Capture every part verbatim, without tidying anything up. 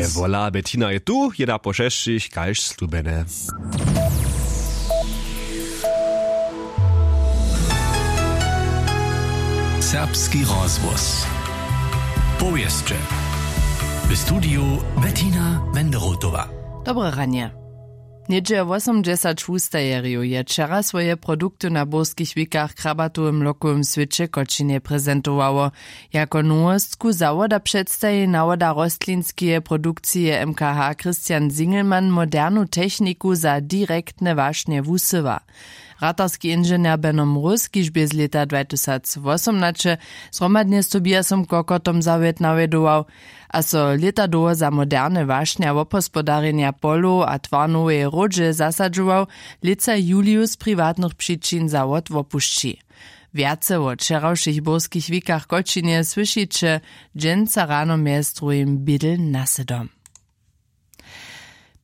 Wola Bettina je tu jedna po šesćich kaž slubjene. Serbski rozhłos. Powěsće. W studiju Bettina Wenderotowa. Dobre ranje. Něhdźe wosomdźesać wustajerjow je wčera swoje produkty na burskich wikach w krabatowym lokowym swěće w kočinje prezentowało. Jako nowostku zawoda předstaji nawoda rostlinskeje produkcije mkh christian zingelmann modernu techniku za direktne wašnje wusyła. Ratarski inženjer beno mróz kiž bě z lěta dwajtysacwosomnaće zhromadnje z tobiasom kokotom zawjet nawjedował, a so lěta dołho za moderne wašnja wobhospodarjenja polow a twarnoweje hródźe zasadźował, lětsa julius z priwatnych přičin zawod wopušći. Wjace wo wčerawšich burskich wikach w kočinje słyšiće dźensa rano mjez druhim bědel nasydom.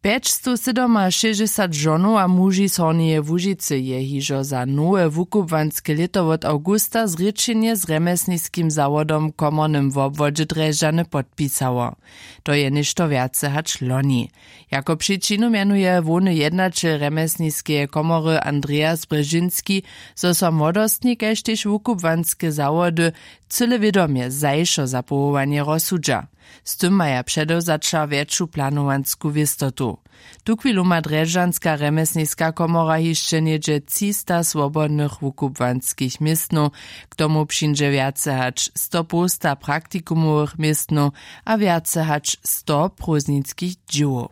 Pjećstowsydomašěsćdźesat žonow a muži z hornjeje łužicy je hižo za nowe wukubłanske lěto wot awgusta zrěčenje z rjemjesniskim zawodom w komornym wobwodźe drježdźany podpisało. To je něšto wjace hač loni. Jako přičinu mjenuje hłowny jednaćel rjemjesniskeje komory andreas brježinski, zo so młodostni kaž tež wukubłanske zawody cyle wědomje zašo za powołanje rozsudźa. Z tym maja předewzaća wjetšu planowansku wěstotu. Tuchwilu ma drježdźanska rjemjesniska komora hišće něhdźe třista swobodnych wukubłanskich městnow. K tomu přińdźe wjace hač sto połsta praktikumowych městnow a wjace hač sto prózdninskich dźěłow.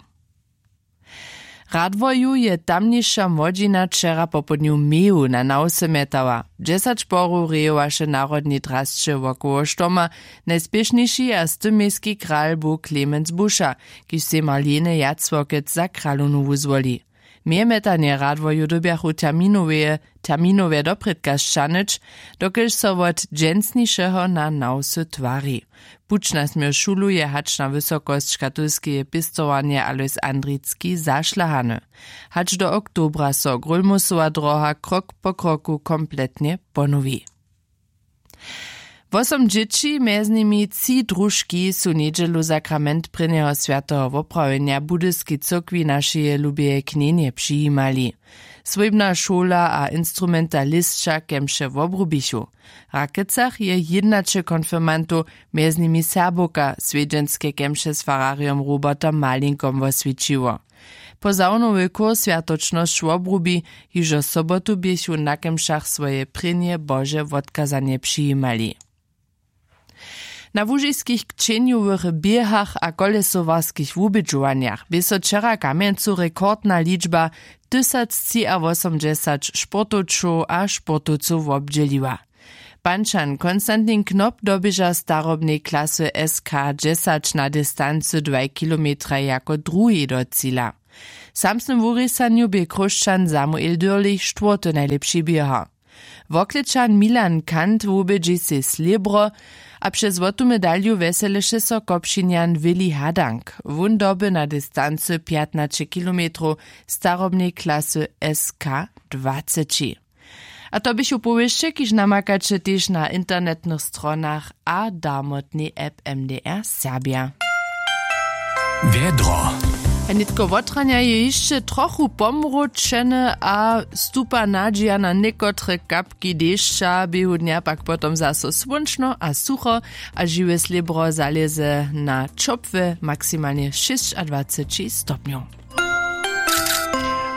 W radworju je tamniša młodźina wčera popołdnju meju na nawse mjetała. Dźesać porow rejowaše w narodnej drasće wokoło štoma. Najspěšniši a z tym mějski kral bu klemenc buša, kiž sej marlene jacłokec za kralownu wuzwoli. Mejemjetanje radworju dyrbjachu terminoweje terminowje doprědka sćahnyć, dokelž so wot dźensnišeho na nawsy twari. Puć na směr šulu je hač na wysokosć katolskeje pěstowarnje alois andricki zašlahany. Hač do oktobra so grólmusowa droha krok po kroku kompletnje ponowi. Wosom dźěći mjez nimi tři družki su njedźelu sakrament prěnjeho swjateho woprawjenja w budyskej cyrkwi našeje lubeje knjenje přijimali. Swójbna šola a instrumentalisća kemše wobrubichu. W rakecach je jědnaće konfirmantow, mjez nimi serbowka swjedźenske kemše z fararjom robertom malinkom woswjećiło. Po zawnowy chór swjatočnosć wobrubi. Hižo sobotu běchu na kemšach swoje prěnje bože wotkazanje přijimali. Na łužiskich kćenjowych běhach a kolesowarskich wubědźowanjach bě so wčera w kamjencu rekordna ličba tysactřiawosomdźesać sportowčow a sportowcow wobdźěliła. Pančan konstantin knop doběža starobnej klasy s k dźesać na distancy dwaj kilometraj jako druhi do cila. W samsnym wurěsanju bě chróšćan samuel dyrlich štwórty najlěpši běhar. Woklečan milan kant wubědźi sej slěbro a přez złotu medalju wjeseleše so kopšinjan willi hadank. Wón doby na distancy pjatnaće kilometrow starobnej klasy s k dwaceći. A to běchu powěsće kiž namakaće tež na internetnych stronach a darmotnej app m d r serbja. Wjedro. A nětko wotranja je hišće trochu pomróčene a stupa nadźija na někotre kapki dešća běhu dnja pak potom zaso słónčno a sucho. A žiwe slěbro zalěze na ćopłe maksimalnje šěsćadwaceći stopnjow.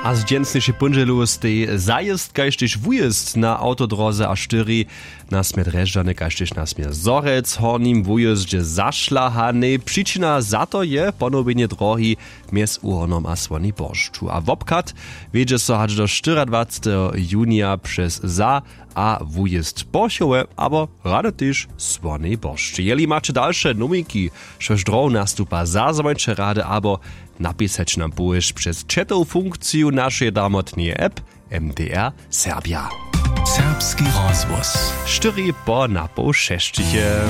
A z dźensnišej póndźelu stej zajězd kaž tež wujězd na awtodroze a štyri na směr drježdźany kaž tež na směr zhorjelc w hornim wujězdźe zašlahanej. Přičina za to je ponowjenje drohi mjez uhornom a słoni boršću a wobchad wjedźe so hač do štyriadwaceteho junija přez za a wujězd porchowe abo rady tež słonej boršće. Jeli maće dalše nowinki, štož drohu nastupa, zazwońće rady abo napisaće nam powěsć přez chatow funkciju našeje darmotneje app m d r serbja. Serbski rozhłos. Štyri po napoł šesćich je.